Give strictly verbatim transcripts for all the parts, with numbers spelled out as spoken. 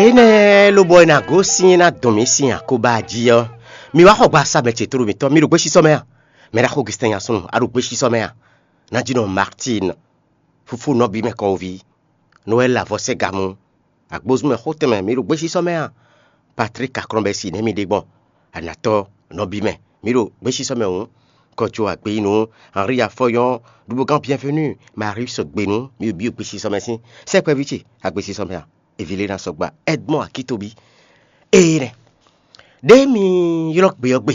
Énɛ́ lobɔ é ná gosín ná dɔn mǐ sín akóbá jí ɔ́, mi wá xɔ gba sa mɛ ce tlóló mǐtɔn, mi ɖo gbésísɔ mɛ a? Mɛ ɖaxó Augustin Nyasúnnu, a ɖo gbésísɔ mɛ a? Nǎjínɔ Martin, fúfú nɔbí mɛ kɔwóví, Noɛl Avɔsɛ́gamú, agbózúnmɛ xó tɛnmɛ, mi ɖo gbésísɔ mɛ a? Patrik Aklɔ́nbɛ́si nɛ́ mi ɖe gbɔn, anatɔ́ nɔbí mɛ, mi ɖo gbésísɔ mɛ hǔn, kɔjó agbeyínú, Henri Afɔyɔn, ɖuɖugán Bienvenu, Marius Gbenu, mi ɖo gbésísɔ mɛ sín sɛkpɛví ce agbésísɔ mɛ a? Evilena sɔgba, Edmond Akitobi. Ee nɛ. Ɖé mi ylɔ́ gbe ɔ́ gbe,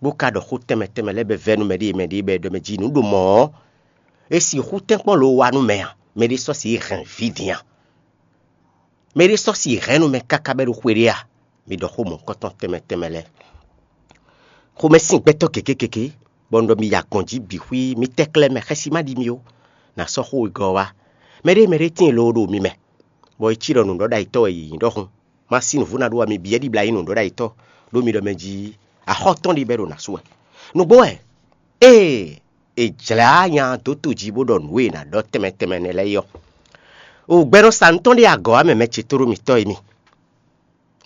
bó ka ɖɔ xó tɛnmɛ tɛnmɛ lɛ́ɛ bɛ vɛ́ nú mɛɖée mɛɖée bɛ ɖɔ mɛ jí nǔ ɖo mɔ̌ ɔ́, é sixú tɛ́nkpɔ́n lo wa nú mɛ a? Mɛɖé sɔ́ si hɛn vǐ din a? Mɛɖé sɔ́ si hɛn nú mɛ káká bɛ́ ɖo xwe ɖé a? Mi ɖɔ xó mɔ̌hunkɔtɔn tɛnmɛ tɛnmɛ lɛ́ɛ. Xomɛ sín gbɛtɔ́ gěgé gěgé, bɔ un ɖɔ mi ya gɔ̌n jí bǐ xwí, mi tɛ́ klɛ́ mɛ xɛsi má ɖi mi ó, nǎ sɔ́ xó wegɔ́ ɔ́ wá. Mɛɖée mɛɖée tíin loo ɖo mi mɛ, bɔ é cí ɖɔ nǔɖɔɖó ayitɔ́ wɛ yě nyí ɖɔhun. Ma sí nǔvú ná ɖó wɛ, mi byɔ́ ɖibla nyí nǔɖɔɖó ayitɔ́, ɖó mi ɖɔ mɛ jí axɔ́ tɔn ɖi bɔ é ɖo nǎ su wɛ. Nǔgbó wɛ, ée è jlǎ nya dó to jí bó ɖɔ nǔ e è nǎ ɖɔ tɛnmɛ tɛnmɛ nɛ́ lɛ́ɛ é ɔ́, o gbɛɖɔ́ sa nǔ tɔn ɖé agɔ̌ wá mɛ mɛ ce tóɖó mitɔ́ e mi.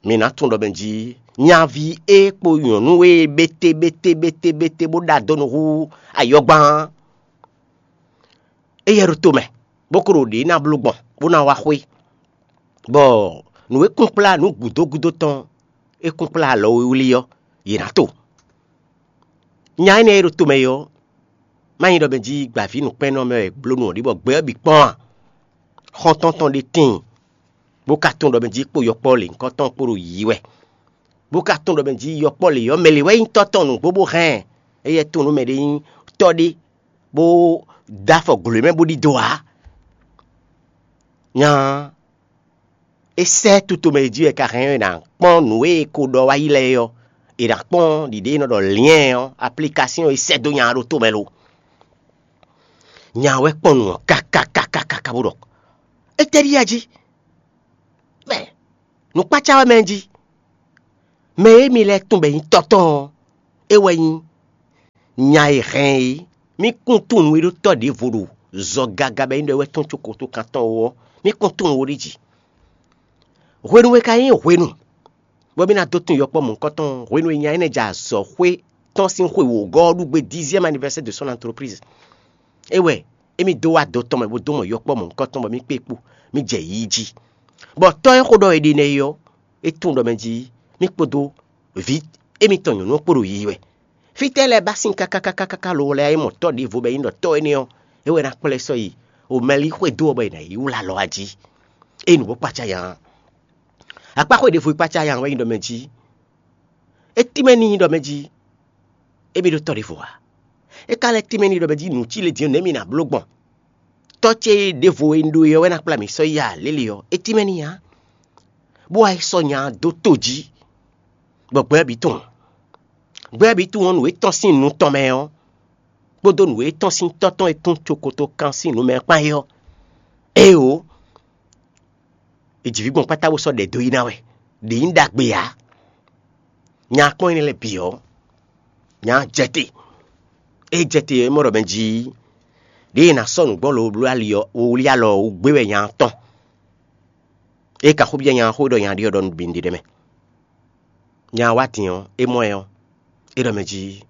Mi ná tunwun ɖɔ mɛ jí nyaví e kpo nyɔ̌nu e bété bété bété bété bó ɖa dó nǔ hú ayɔ́gbán, éyɛ́ ɖo to mɛ, bó ko ɖo ɖě ná bló gbɔn, bó ná wá xwé, bɔ nǔ e kúnkplá nǔ gǔdo gúdo tɔn e kúnkplá alɔ wlíwlí ɔ́, yě ná to. Nya énɛ́ e ɖo to mɛ é ɔ́, má nyí ɖɔ mɛ jí gbǎví nǔkpɛ́nnɔ mɛ wɛ bló nǔ ɔ́ ɖi bɔ gbɛ ɔ́ bǐ kpɔ́n a? Xɔ́ntɔn tɔn ɖé tíin, bó ka tunwun ɖɔ mɛ jí kpo yɔkpɔ́ lěhunkɔtɔn kpó ɖo yiyi wɛ, bó ka tunwun ɖɔ mɛ jí yɔkpɔ́ lě ɔ́ mɛ lě wɛ nyí tɔ́ tɔn nǔgbó bó hɛn ɛ. Éyɛ́ tunwun nú mɛɖé nyí tɔ́ ɖé bó dó afɔ glǒ mɛ bó ɖidó ǎ. Nya é sɛ́ tutomɛ e jí wɛ ka hɛn ɔ́, è nǎ kpɔ́n nǔ e è ko ɖɔ wá yi lɛ́ɛ é ɔ́, è nǎ kpɔ́n ɖiɖe e nɔ ɖɔ lyɛ̌n ɔ́, aplikasyon e sɛ́ dó nya ɔ́ ɖo tomɛ lo. Nya ɔ́ wɛ kpɔ́n nǔ ɔ́ káká káká káká bó ɖɔ: Étɛ́ ɖíe a jí? Mɛ nǔkpácá wɛ mɛ jí. Mɛ e mi lɛ́ tunwun bɔ è nyí tɔ́ tɔn ɔ́, é wɛ nyí nya e hɛn é. Mí kún tunwun e ɖó tɔ́ ɖěvo ɖo zɔ gaga bɔ é nyí ɖɔ é wɛ tɔ́n có kotokan tɔn ó ɔ́, mí kún tunwun ó ɖi jǐ. Hwenu e ka nyí hwenu bɔ mí ná dó tunwun yɔkpɔ́ mɔ̌hunkɔtɔn, hwenu e nya énɛ́ jɛ azɔ̌xwé tɔn sín xwe wǒgɔ́ ɔ́ ɖu gbe dixième anniversaire de son entreprise. É wɛ émí dó wá do tɔn mɛ bó dó mɔ yɔkpɔ́ mɔ̌hunkɔtɔn bɔ mí kpé kpo, mí jɛ yiyi jí. Bɔ tɔ́ e xó ɖɔ è ɖe nɛ́ é ɔ́, é tunwun ɖɔ mɛ jí mí kpódó vǐ émítɔn nyɔ̌nu ɔ́ kpo ɖo yiyi wɛ. Fítɛ́ lɛ́ɛ ba sín káká káká káká lo lɛ́ɛ é mɔ tɔ́ ɖěvo bɔ é nyí ɖɔ tɔ́ énɛ́ ɔ́, é wɛ ná kplá ɛ sɔ́ yi omɛlí xwedó ɔ́ bɔ è nǎ yi wlá alɔ wá jí. É nǔ bó kpácá nya ɔ́. Akpá xwé ɖěvo e kpácá nya ɔ́ wɛ nyí ɖɔ mɛ jí. É tínmɛ n'i ɖɔ mɛ jí émí ɖó tɔ́ ɖěvo ǎ. É ka lɛ́ tínmɛ n'i ɖɔ mɛ jí nǔ cí le din ɔ́, nɛ̌ mi ná bló gbɔn? Tɔ́ ce ɖěvo e un ɖó é ɔ́ wɛ ná kplá mì sɔ́ yi a lě lě ɔ́, é tínmɛ n'i ǎ. Bó wá yi sɔ́ nya ɔ́ dó to jí, bɔ gbɛ ɔ́ bǐ tunwun. Gbɛ ɔ́ bǐ tunwun ɔ́, nǔ e tɔ́n sín nu tɔn mɛ ɔ́, kpódó nǔ e tɔ́n sín tɔ́ tɔn e tún cokoto kan sín nu mɛ kpán é ɔ́, éeǒ, è ji vǐ gbɔn kpátá bó sɔ́ ɖɛ dó yi ná wɛ. Ɖě nyí ɖagbe ǎ. Nya kpɔ́n énɛ́ lɛ́ɛ bǐ ɔ́, nya jɛ te. Ée jɛ te ɔ́, é mɔ ɖɔ mɛ jí ɖěe è nǎ sɔ́ nǔ gbɔn lobló ali ɔ́, wowlí alɔ ɔ́ wú gbé wɛ nya ɔ́ tɔn. Ée ka xó byɔ́ nya ɔ́ xó e ɖɔ nya ɖe ɔ́ ɖɔ nǔ bǐ nǔɖé ɖ'é mɛ. Nya ɔ́ wá din ɔ́, é mɔ ɛ ɔ́, é ɖɔ mɛ jí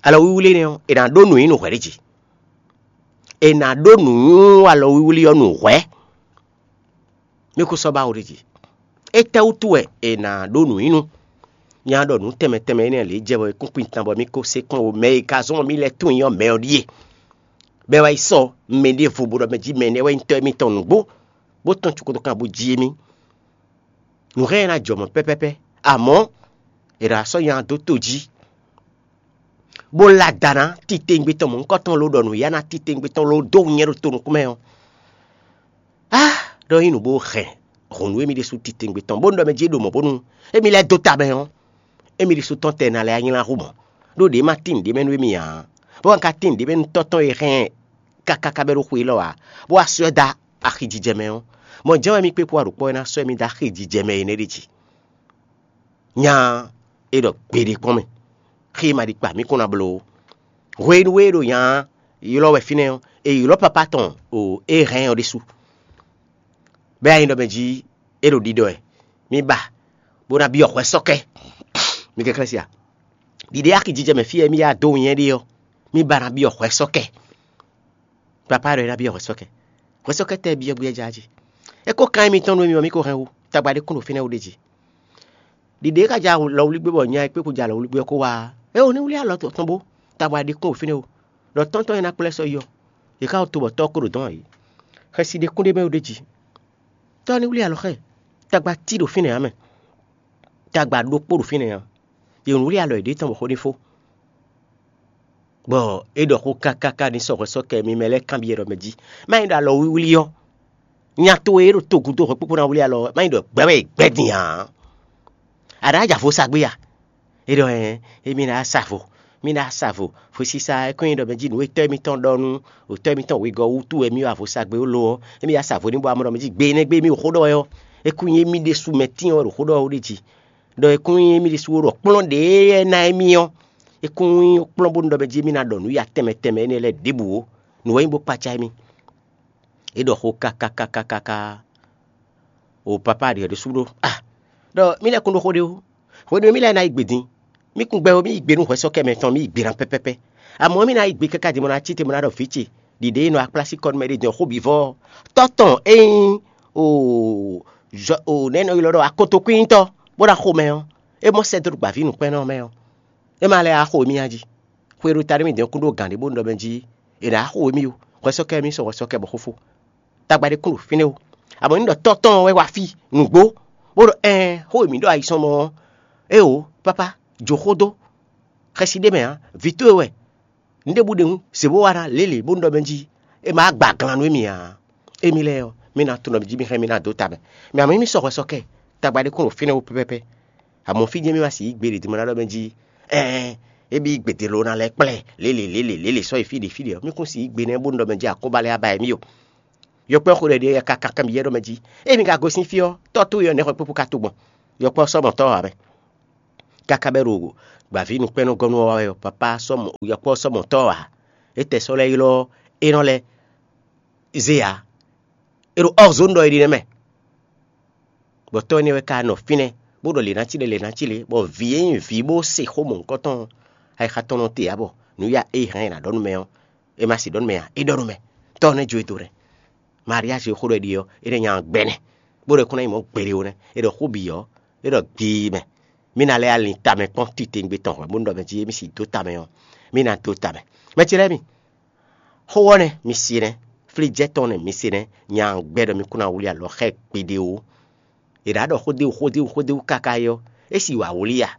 alɔ wíwlí énɛ́ ɔ́, è nǎ ɖó nǔ nyi nǔ hwɛ̌ ɖé jí. È nǎ ɖó nǔ nyi alɔ wíwlí ɔ́ nǔ hwɛ̌. Mí kún sɔ́ ba wo ɖ'é jí. Étɛ́wútu wɛ è nǎ ɖó nǔ nyi nú? Nya ɖɔ nǔ tɛnmɛ tɛnmɛ énɛ́ lě jɛ bɔ é kún kpin tan bɔ mí kó se kpɔ́n o. Mɛ e ka zɔ́n mí lɛ́ tunwun nyí ɔ́, mɛ ɔ́ ɖíe. Bɔ é wá yi sɔ́ mɛ ɖěvo bó ɖɔ mɛ jí mɛ énɛ́ wɛ nyí tɔ́ émítɔn nǔgbó, bó tɔ́n cukotokan bó jí émí. Nǔ hɛn ná jɔ mɔ̌ pɛ́pɛ́pɛ́, amɔ̌ è ɖo asɔ́ nya dó to jí, bó lá da ná titewungbe tɔn mɔ̌hunkɔtɔn ló ɖɔ nǔyá ná titewungbe tɔn ló dó nyɛ ɖo to nukún mɛ ɔ́, á ɖɔ nyí nǔ bó hɛn hɔ̌nnu émí ɖésú titewungbe tɔn, bónú ɖɔ mɛ jí é ɖo mɔ̌ bónú émí lɛ́ dó ta mɛ ɔ́, émí ɖésú tɔn tɛ ná lɛ́ nylá hú mɔ̌, ɖó ɖě ma tín nǔɖé mɛ nú émí ǎ, bó wá ka tín nǔɖé mɛ nú tɔ́ tɔn e hɛn ɛ káká bɛ́ ɖó xwe élɔ́ ǎ, bó wá sɔ́ ɛ dó axijijɛ mɛ ɔ́, mɔ̌ jɛ́n wɛ mí kpé kpó aɖǔkpɔ́ e ná sɔ́ émí dó axijijɛ mɛ é nɛ́ ɖe jí. Nya e ɖɔ gbeɖé kpɔ́n mɛ, xé ma ɖi kpa mí kún ná bló ó. Hwenu e ɖo nya ylɔ́ wɛ fínɛ́ ɔ́, è ylɔ́ papá tɔn o é hɛn ɔ́ ɖésú. Bɛ́ ayi ɖɔ mɛ jí É ɖo ɖiɖɔ wɛ. Mi ba, bó ná byɔ́ hwɛ sɔ́kɛ. Mi kɛnklɛ́n sia. Ɖiɖe axi jijɛ mɛ fí e mì yá dó winnyɛ́ ɖe ɔ́, mì ba ná byɔ́ hwɛ sɔ́kɛ. Papá ɖɔ é ná byɔ́ hwɛ sɔ́kɛ. Hwɛ sɔ́kɛ tɛ́ byɔ́ gbé ɛ já jí. É kó kan émítɔn nú émí ɔ́, mì ko hɛn wu. Tagba ɖé kún ɖo fínɛ́ wú ɖ'é jí. Ɖiɖe é ka jɛ alɔwlígbé bɔ nya e kpé kú jɛ alɔwlígbé ɔ́ kó wá ɔ́, é wú ní wlí alɔ tɔn bó. Tagba ɖé kún ɖo fínɛ́ wú. Ɖɔ tɔ́ntɔn e ná kplá ɛ sɔ́ yi ɔ́, yě ká wú to bɔ tɔ́ ɔ́ kó ɖo dɔ̌n ǎ é. Xɛsi ɖé kún ɖ'é mɛ wú ɖ'é jí. Tɔ́ ɔ́ ní wlí alɔ xá ɛ. Tagba tí ɖo fínɛ́ ǎ mɛ. Tagba ɖokpó ɖo fínɛ́ ǎ. Yě wlí alɔ yěɖée tɔn bɔ xó ní fó. Bɔ é ɖɔ xó káká ká ní sɔ́ hwɛ sɔ́ kɛ mì mɛ lɛ́ɛ kanbyɔ́ ɖɔ mɛ jí. Má nyí ɖɔ alɔ wíwlí ɔ́, nya towe e ɖo togun dó hwɛ̌kpókpó ná wlí alɔ ɔ́, má nyí ɖɔ gbɛ̌ wɛ è gbɛ́ din ǎ. A ɖǎ ja vo sa gbé a? É ɖɔ ɛɛ, émí ná sa vo, mí ná sa vo. Hwesisa ɔ́, é kɔn nyi ɖɔ mɛ jí nǔ e tɔ́ émítɔn ɖɔ nú tɔ́ émítɔn wegɔ́ wútu wɛ mì wa vo sa gbé ó lo ɔ́, émí wá sa vo ní bɔ amɔ ɖɔ mɛ jí gbe énɛ́ gbe émí xó ɖɔ wɛ ɔ́, é kún nyí émí ɖésú mɛ tíin wɛ ɖo xó ɖɔ wɛ ó ɖe jí. Ɖɔ é kún nyí émí ɖésú wɛ ɖɔ kplɔ́n ɖě ná émí ɔ́, é kún nyí kplɔ́n bónú ɖɔ mɛ jí émí ná ɖɔ nǔ ya tɛnmɛ tɛnmɛ énɛ́ lɛ́ɛ ɖěbǔ ó. Nǔ wɛ nyí bó kpaca émí. É ɖɔ xó kákákákákáká. O papá ɖiɛ ɖésú ɖó a ɖɔ mí lɛ́ kún ɖó xó ɖé ó. Hwenu e mí lɛ́ ná yi gbě din, mí kún gbɛ ó, mí yi gbe nú hwɛsɔ́kɛ mɛtɔn, mí yi gbe ná pɛ́pɛ́pɛ́. Amɔ̌ mí ná yi gbe káká din bó ná cí te bó ná ɖɔ vǐ ce ɖiɖe e nɔ akplásikɔ nú mɛ ɖé din ɔ́ xó bǐ vɔ ɔ́, tɔ́ tɔn e nyí o zɔ o nɛ̌ nɔ ylɔ́ ɖɔ akotokwíntɔ́ bó ná xo mɛ ɔ́, é mɔ sɛ́ dó ɖo gbǎví nǔkpɛ́nnɔ ɔ́ mɛ ɔ́, é ma lɛ́ wá xo émí a jí? Xwe ɖo ta nú mì din ɔ́ kún ɖó gǎn ɖé bónú ɖɔ mɛ jí è nǎ xo émí ó. Hwɛsɔ́kɛ mì sɔn hwɛsɔ́kɛ bɔ xó fó. Tagba ɖé kún ɖo fínɛ́ ó. Amɔ̌ ní ɖɔ tɔ́ tɔn wɛ wá fí nǔgbó, bó ɖɔ ɛɛn xó e mǐ ɖɔ ayi sɔn mɔ ɔ́, éeǒ, pápá, jǒ xó dó. Xɛsi ɖ'é mɛ ǎ, vǐ towe wɛ. Nǔɖé bú ɖe hǔn, zě bó wá ná lě lě bónú ɖɔ mɛ jí é ma gba glan nú émí ǎ. Émí lɛ́ɛ ɔ́, mí ná tunwun ɖɔ mǐ jí mì hɛn mì ná dó ta mɛ. Mɛ amɔ̌ mí sɔ́ hwɛ sɔ́ kɛ, tagba ɖé kún ɖo fínɛ́ ó pɛ́pɛ́pɛ́. Amɔ̌ fí jɛ́n mì ma sixú yí gbe ɖě din bó ná ɖɔ mɛ jí ɛɛn é bí gbe din lo ná lɛ́ kplɛ́ lě lě lě lě lě lě sɔ́ yi fí ɖě fí ɖě ɔ́, mí kún sixú yí gbe nɛ́ bónú ɖɔ mɛ jí akóba lɛ́ɛ á ba émí ó. Yɔkpɔ́ xo ɖɛ ɖě káká kanbyɔ́ ɖɔ mɛ jí: Ée mi ka gosín fí ɔ́, tɔ́ towe ɔ́ nɛ̌ hwɛ kpékpó ka to gbɔn? Yɔkpɔ́ sɔ́ mɔ tɔ́ ɔ́ ǎ mɛ. Káká bɛ́ ɖo gbǎví nukpɛ́nnɔ́gɔ́nú ɔ́ wá wɛ ɔ́, papá sɔ́ mɔ yɔkpɔ́ sɔ́ mɔ tɔ́ ɔ́ ǎ. É tɛ sɔ́ lɛ́ ylɔ́ é nɔ lɛ́ zé ǎ. É ɖo ɔ́ zǒn ɖɔ é ɖi nɛ́ mɛ. Bɔ tɔ́ énɛ́ wɛ ka nɔ fínɛ́, bó ɖɔ lě ná cí lě, lě ná cí lě, bɔ vǐ e nyí vǐ bó se xó mɔ̌hunkɔtɔn ɔ́, ayixa tɔn nɔ te ǎ bɔ nǔ ya e hɛn è nǎ ɖɔ nú mɛ ɔ́, é ma sixú ɖɔ nú mɛ ǎ, é ɖɔ nú mɛ. Tɔ́ ɔ́ nɛ́ jó e do nɛ́. Maria Jehoɖɛɖi ɔ́, é ɖo nya ɔ́ gbɛ nɛ́, bó ɖɔ é kún ná nyí mɔ̌ gbeɖé ó nɛ́. É ɖɔ xó bǐ ɔ́, é ɖɔ gbiyi mɛ, mí ná lɛ́ alin tamɛ kpɔ́n titewungbe tɔn hwɛ̌ bónú ɖɔ mɛ jí émí sixú dó tamɛ ɔ́, mí ná dó tamɛ. Mɛ ce lɛ́ɛ mi, xó ɔ́ nɛ́ mi se nɛ́, flíjɛ́ tɔn nɛ́ mi se nɛ́, nya ɔ́ gbɛ ɖɔ mi kún ná wlí alɔ xá ɛ gbeɖé ó. È ɖǎ ɖɔ xódéwu xódéwu xódéwu káká é ɔ́, é sì wǎ wlí a?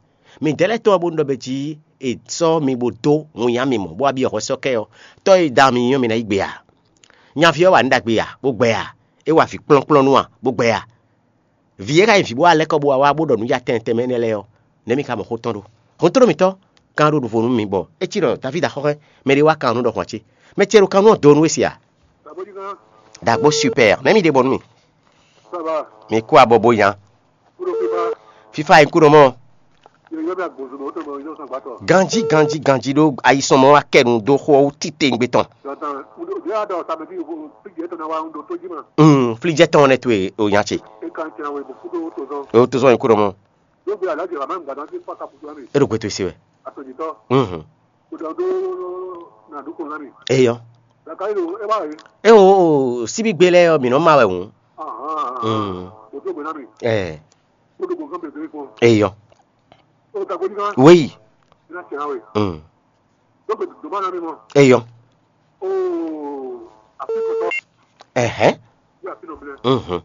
Midɛɛ lɛ́ɛ tɔn ɔ́ bónú ɖɔ mɛ jí è sɔ́ mi bó dó winnyá mi mɔ̌ bó wá byɔ́ hwɛsɔ́kɛ ɔ́, tɔ́ e da mi nyɔ́ mi ná yí gbe a? Nyaví ɔ́ wa nǔ ɖagbe a, bó gbɛ a? É wa vǐ kplɔ́nkplɔ́n nú a, bó gbɛ a? Vǐ e ka nyí vǐ bó wá lɛ́ kɔ bó wá wá bó ɖɔ nǔ ya tɛnmɛ tɛnmɛ énɛ́ lɛ́ɛ ɔ́, nɛ̌ mi ka mɔ xó tɔn ɖó? Hɔntoɖómitɔ́, kan ɖó ɖuvo nú mi bɔ é cí ɖɔ Davídi axɔ́xɔ́ mɛ ɖé wá kan nǔ ɖɔhun ǎ cé? Mɛ ce ɖo kan nú ɔ́ do nú we se a? Dǎgbó super, nɛ̌ mi ɖe bɔ nú mi? Mi kú abɔ bó nya. Fífá e kú nɔ mɔ. Ganjí ganjí ganjí ɖó ayisɔnmɔ wa kɛ nu dó xó ɔ́ wú titewungbe tɔn. Mm, flíjɛ tɔn nɛ towe o nya ce. O to zɔn yi kú nɔ mɔ. E ɖo gbe towe se wɛ. Mhm. Eyɔ. E o o síbí gbe lɛ ɔ mǐ nɔ ma wɛ hǔn. Mm. Ɛ. Eyɔ. Wéyi. Mm. Eyɔ. Ɛhɛn. Mhm.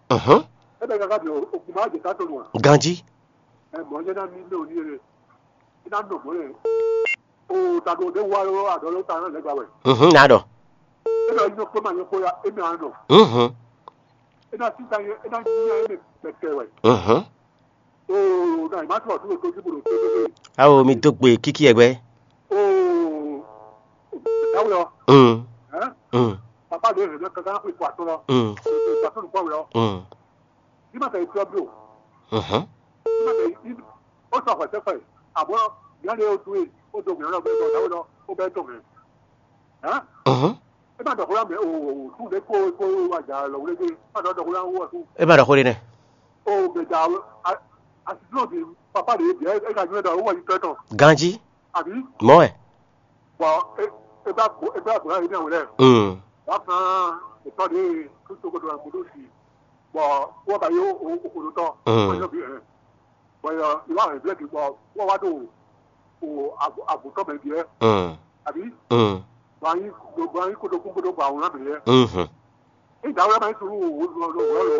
Mhm. Ganji. Mhm, na ɖɔ. Mhm. Mhm. Awo mi dó gbe kíkí ɛgbɛ. Mm. Mm. Mm. Mhm. Mhm. Mhm. É má ɖɔ xó yá mɛ o, o, o, sú ɖé kó, kó wá jà lɔ wlé dé. É má ɖɔ, ɖɔ xó yá wú ɔ sú. É má ɖɔ xó ɖé nɛ́. O, mɛ jà a, a, asisúnɔ bi papa ɖě bia é ka nywɛ ɖɔ wú ɔ yi tɔ́ tɔn. Ganjí. Àbí? Mɔ̌ wɛ. Bɔ é, é bá gbó, é bá gbó yá yé ní àwòrán. Mm. Wá kan ètò ɖě tó tó kodo àgbòdo sí. Bɔ wọ́n ba yó o, o kodo tɔn. Mm. Wọ́n yó bi ẹ̀. Bɔ yɔ, ìwà rẹ̀ blɛ́ kì bɔ wọ́n wá ɖo o àgbo, àgbo tɔn mɛ bi ẹ̀. Mm. Àbí? Mm. Bɔ anyi, bɔ anyi kodo kún kodo bɔ àwòrán bì ẹ̀. Mhm. Ìgbà wọ́n máa ń sùn wò wò lọ lọ wò lọ.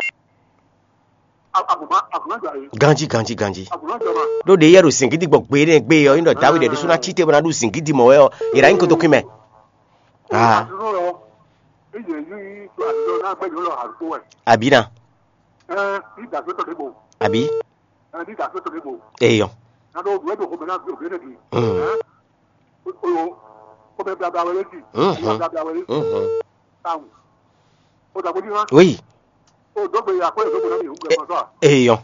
Àgùnmá, àgùnmá gbà yìí. Ganjí, ganjí, ganjí. Àgùnmá gbà máa. Ɖó ɖe yɛ ɖo zǐngídi gbɔ gbe énɛ́ gbe ɔ́, nyí ɖɔ Dáwídì ɖésú ná cí te bó ná ɖu zǐngídi mɔ wɛ ɔ́, yě ná nyí kotokwín mɛ. Ah. Àdúró lọ. Èyí èyí àdúró náà gbẹ́jọ́ lọ àdúgbò ẹ̀. Àbí ná. Ẹ ní ìdàgbé tọ̀ débò. Àbí. Ẹ ní ìdàgbé tọ̀ débò. Eyɔ. Ná ló wẹ́ẹ́ dòkó mẹ́ná bí òbí ẹ̀dẹ̀gì. Mm. Ẹ ó ó ó bẹ blabla wẹlé sí. Mhm. Blabla wẹlé sí. Mhm. Táwọn. Ó dàgbé ní wá. Oui. Ó dógbe yà kó èso gbọdọ̀ mi ò ń gbẹ mọ́tò à. Eyɔ.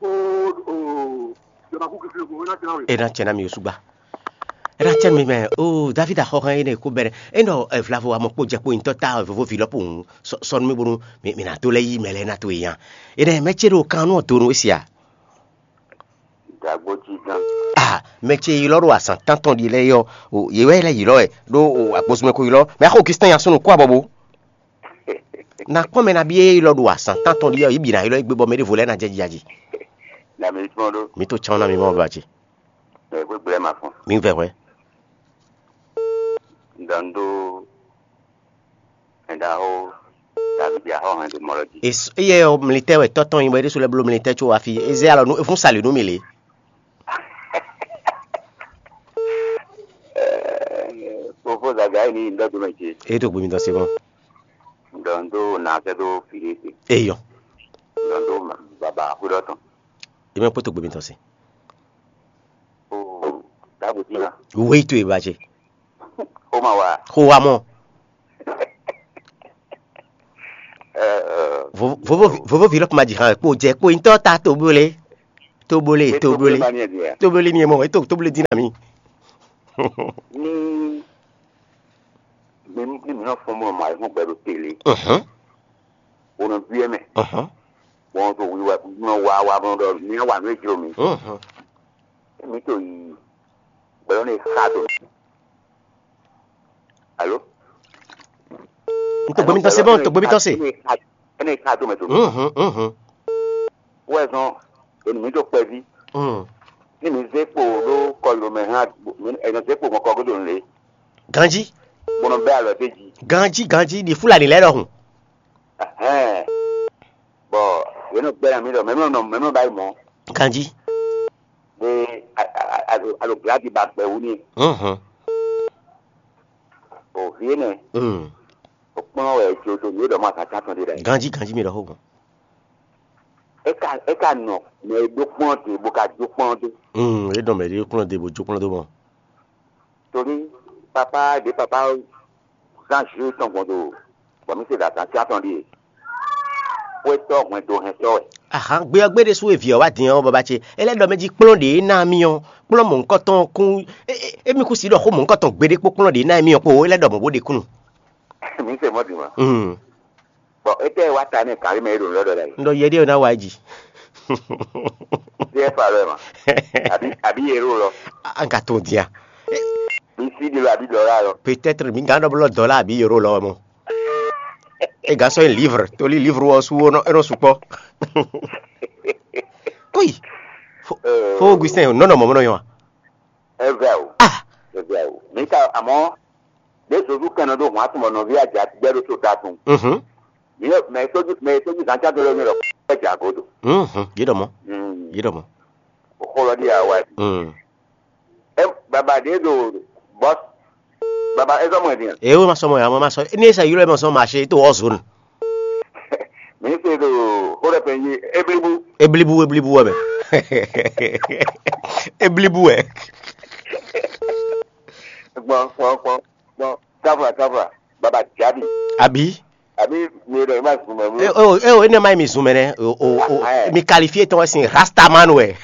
Ó ó jọba kú kìkì ògùn wẹ́ná ti náà wẹ̀. E na cɛ na mi osugba. E na cɛ mi mɛ o David axɔxan yi ne ko bɛrɛ. E nɔ vlavo amɔ kpo jɛ kpo ntɔ ta vovo vi lɔ po ŋu sɔ sɔ nu mi bonu mi mi na to lɛ yi mɛ lɛ na to yi yan. E nɛ mɛ ce ɖo kan nɔ do nu esia. Dagbo jí gán. Ah, mɛ ce yi lɔ ɖo azan tantɔn ɖi lɛ yɔ. O ye wɛ lɛ yi lɔ ɛ ɖo o agbosumɛ ko yi lɔ. Mɛ axɔ Augustin ya sunu kó abɔ bo. Na kpɔn mɛ na bi e yi lɔ ɖo azan tantɔn ɖi yɔ yi bi na yi lɔ yi gbe bɔ mɛ ɖevo lɛ na jɛ jija ji. Na mi tún ɖo. Mi to chan na mi mɔ ba ce. Ɛ gbégbé ma fún. Mi vɛ hwɛ. Ŋdɔ ŋ ɖó ɛnɖaxó Davidi axɔ́ hɛn ɖo mɔ lɔ jí. Eyɛ ɔ mlitɛ wɛ tɔtɔn yi bɔ é ɖésú lɛ́ bló mlitɛ tso afi é zé alɔ nú é fún sali nú mi lě. Fofo Zagayi ní ŋdɔ dó mɛ ce. É tó gbé mi tɔn se mɔ. Ŋdɔ ŋ ɖó nà sɛ dó fi ɖé se. Eyɔ. Ŋdɔ ŋ ɖó baba xwé ɖɔ tɔn. É mɛ kpótó gbé mi tɔn se. O dagbo tí ma. Wéyí tó e ba ce. Xó ma wa. Xó wa mɔ. Ɛ ɛ. Vovo vovo vi lɔ kuma ji hàn kpo jɛ kpo ŋutɔ ta to bole. To bole to bole. To bole ni mɔ eto to bole dina mi. Ní mi ní mi nɔ fɔn mɔ mɔ ayihun gbɛ ɖo tele. Mhm. Wonɔ duyɛ mɛ. Mhm. Wọn to wiwa nɔ wa wa mɔ ɖɔ mi wà nú ejlo mi. Mhm. Mi to yi gbɛlɔ ne xa do. Alo. N tó gbé mi tɔn se bɔn, n tó gbé mi tɔn se. Ene xa do mɛ to. Mhm, mhm. Wɛ zɔn enu mi to kpɛvi. Mm. Ni mi zé kpo ɖo kɔlu mɛ hã, ɛnɔ zé kpo mɔ kɔgodo le. Ganji. Bɔnɔ bɛ alɔ te ji. Ganji, ganji, di Fulani lɛ ɖɔhun. Ɛhɛn. Bɔ yɛn nɔ gbɛna mi ɖɔ mɛmɛ nɔ mɛmɛ ba yi mɔ. Ganji. Be alo gladi ba gbɛ wu ni. Mhm. O vie nɛ. Mm. O kplɔn wɛ jo do mi ɖɔ ma ka ta tɔn de ɖe. Ganji, ganji mi ɖɔ ho gbɔn. E ka e ka nɔ mɛ e ɖó kplɔn de bo ka jó kplɔn do. Mm, e dɔn mɛ ɖe kplɔn de bo jó kplɔn do mɔ. Torí papa ɖě papa zán jǔ tɔn gbɔn do bɔ mǐ se ɖo azǎn cyán tɔn ɖíe. Xwétɔ́ hwɛndo hɛntɔ́ wɛ. Ahan gbe ɔ́ gbe ɖésú e vǐ ɔ́ wá din ɔ́ baba ce é lɛ́ ɖɔ mɛ jí kplɔ́n ɖě ná mì ɔ́ kplɔ́n mɔ̌hunkɔtɔn kún. Émí kún si ɖɔ xó mɔ̌hunkɔtɔn gbeɖé kpó kplɔ́n ɖě ná émí ɔ́ kpó é lɛ́ ɖɔ mɔ̌ bó ɖe kúnnu. Mǐ se mɔ̌ din ma. Bɔ étɛ́ wá ta nɛ́ gǎn mɛ e ɖo nǔ lɛ́ ɖɔ ɖ'ayǐ? Ɖɔ yɛ ɖíe ná wá yi ji. Díɛ fa lɔ ɛ ma. Àbí àbí yɛ ɖo lɔ. An ka tó dia? Bí sí ɖi lɔ àbí dɔlá lɔ. Peut-être mi gán ɖɔ blɔ dɔlá àbí yoro lɔ mɔ. E gán sɔ livre toli livre wɔ su wɔ nɔ enɔ sukpɔ. Koi. Fo Augustin nɔ nɔ mɔmɔ nɔ yɔ. Evɛ o. Ah. Evɛ o. Mi ka àmọ́. Ɖě Zozu kɛn nɔ ɖó hɔn atɔn bɔ nɔví aja gbɛ ɖo to ta tɔn. Mhm. Mi yɛ mɛ sójú mɛ sójú zan ca dolo mi lɔ kpɛ ja godo. Mhm. Yi ɖɔ mɔ. Mm. Yi ɖɔ mɔ. O xɔ lɔ ɖi awa. Mm. E baba ɖe ɖo bɔ baba ezɔ mɔ din. E wo ma sɔ mɔ ya mɔ ma sɔ. Ni esa yoro ma sɔ ma se to ɔzun. Mi se ɖo xó ɖe pɛn yi eblibu. Eblibu eblibu wɛ mɛ. Eblibu wɛ. Gbɔn gbɔn gbɔn gbɔn. Kava kava baba jabi. Abi. Abi mi ɖe ma zun mɛ. E o e o ene ma mi zun mɛ nɛ o o o mi qualifie tɔn sin rastaman wɛ.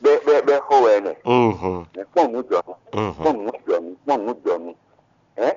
Bɛ bɛ bɛ xɔ wɛ nɛ. Mhm. Mɛ kpɔn nu jɔ nu. Mhm. Kpɔn nu jɔ nu. Kpɔn nu jɔ nu. Ɛ?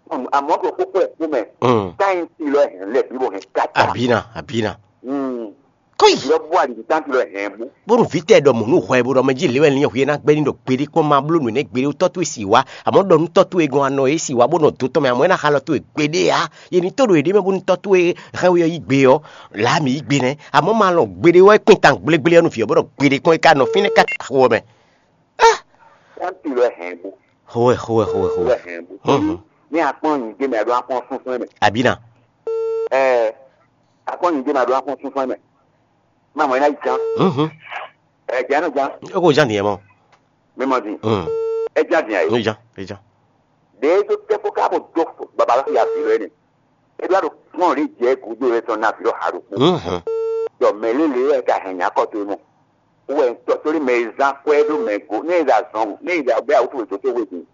Kpɔn nu. Amɔ ko kókó ɛ kó mɛ. Mm. Táyì ti lɔ hɛn lɛ bí bo hɛn kata. Abina, abina. Mm. Kɔyi. Lɔ bɔ ali tan ti lɔ hɛn bu. Bónú vǐ tɛ ɖɔ mɔ̌ nú hwɛ bó ɖɔ mɛ jí lě wɛ lín hwíe ná gbɛ́ ní ɖɔ gbeɖé kpɔ́n ma bló nǔ nɛ́ gbeɖé tɔ́ towe si wá, amɔ̌ ɖɔ nú tɔ́ towe gɔn anɔ é si wá bó nɔ dó tɔn mɛ, amɔ̌ é ná xa lɔ towe gbeɖé ǎ. Yě ní tó ɖo yěɖée mɛ bónú tɔ́ towe hɛn we ɔ́ yí gbe ɔ́, lǎ mǐ yí gbe nɛ́. Amɔ̌ ma lɔn gbeɖé wɛ kpin tan gblégbléɔ nú vǐ ɔ́ bó ɖɔ gbeɖé kpɔ́n é ka nɔ fínɛ́ káká xo ɔ́ mɛ. Á! Tanti lɔ hɛn bu. Xowɛ, xowɛ, xowɛ, xowɛ. Lɔ hɛn bu. Mhm. Ní akpɔn nyi dé mɛ ɖo akpɔn sunsun mɛ. Abina. Ɛ, akpɔn nyi dé mɛ ɖo akpɔn sunsun mɛ. Má mɔ ina yi jan. Mhm. Ɛ jan nɔ jan. E ko jan diɛ mɔ. Mi mɔ di. Mm. Ɛ jan diɛ. E jan, e jan. De to tɛ ko ka bo do baba la ya fi lɛ ne. E do ado kpɔn le jɛ gudo le tɔn na fi lɔ ha do ko. Mhm. Dɔ mɛ le le ka hɛn nya kɔ to mo. Wɛ ŋutɔ sórí mɛ e zán kwɛ́ ɖó mɛ go, ne e zan zɔn, ne e zan bɛ awutu wɛ dǒtó wɛ din.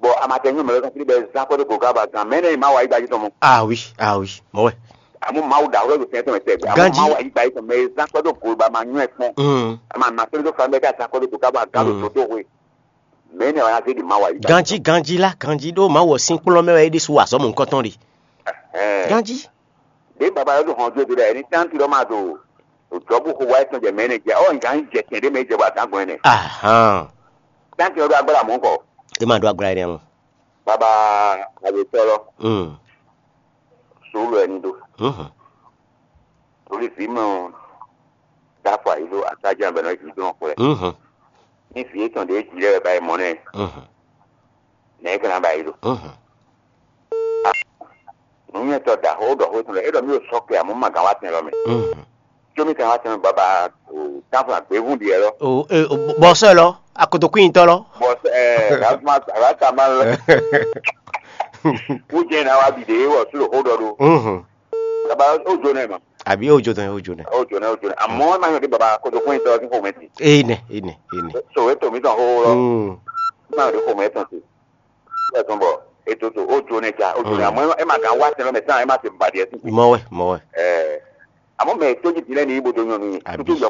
Bɔ amatɛnyɔ mɛ lɔ kan sórí bɛ zán kwɛ́ ɖó go ká ba gán mɛ nɛ ma wa yi gbajú tɔn mɔ. Ah oui, ah oui, mɔ wɛ. Àmọ́ Mawu ɖàwúrẹ́ ló fẹ́ tɔn tɛ. Àmọ́ Ganji. Mawu ayígba yìí tɔn mɛ e zán kwɛ́ ɖó go ba ma nyɔ ɛ kpɔn. Mm. Àmọ́ àmàtó ló fà mɛ ká zán kwɛ́ ɖó go ká ba gán ló Mm. dǒtó wɛ. Mɛ nɛ wà ná zé di Mawu ayígba. Ganji, ganji la, ganji ɖó Mawu ɔ sín kplɔ́n mɛ wɛ é ɖésú wa azɔ̌ mɔ̌hunkɔtɔn ɖe. Ɛɛ. Ganji. Ɖě baba lɔ ɖo hɔn dó dó ɖɛ ní tánti lɔ ma ɖo ɖo dɔ̌bú xo wá etɔn jɛ mɛ nɛ jɛ ɔ ŋgá ń jɛ tɛn ɖé mɛ jɛ bɔ adǎgbɔn ɛnɛ. Ahan. Tánti lɔ ɖo agbára mɔ̌ kɔ. E ma ɖo agbára ɛnɛ mɔ. Baba awetɔ lɔ. Mm. Sùúrù ɛni ɖó. Mhm. Torí vǐ mɛ ɔ dó afɔ ayǐ ɖó atájá bɛ nɔ jǐ dó xwlɛ. Mhm. Ní vǐ etɔn ɖě jǐ lɛ́ wɛ ba yi mɔ nɛ. Mhm. Nɛ̌ é ka ná ba yi ɖo? Mhm. Nǔnywɛ́tɔ́ ɖaxó ɖɔ xó tɔn lɛ́ɛ, é ɖɔ mí ɖo sɔ́ kɛ amɔ̌ ma gǎn wá tɛn lɔ mɛ. Mhm. Có mí ka wá tɛn lɔ baba o tánfɔ́n agběvún ɖiɛ lɔ. O e o bɔsɔ lɔ, akotokwíntɔ lɔ. Bɔ ɛ gàtúmá gàtá má lɛ. Wújɛ ná wá bì ɖě wɔ sú ɖo xó ɖɔ ɖo. Mhm. Baba ó jo nɛ ma. Àbí ó jo tán ó jo nɛ. Ó jo nɛ ó jo nɛ. Àmọ́ má yọ̀ dé baba akotokwíntɔ sín xomɛ ti. Ene, ene, ene. So é tò mí tán xó lɔ. Mm. Má yọ̀ dé xomɛ tán ti. Ɛ tɔn bɔ ètò tó ó jo nɛ ja ó jo nɛ. Mm. Àmọ́ ẹ má gán wá tẹ̀lé mɛ tán ẹ má ti bàdí ẹ sí. Mɔwɛ, mɔwɛ. Ẹ àmọ́ mɛ tó jí dilẹ́ ní ibodò yàn mí. Àbí. Tuntun yọ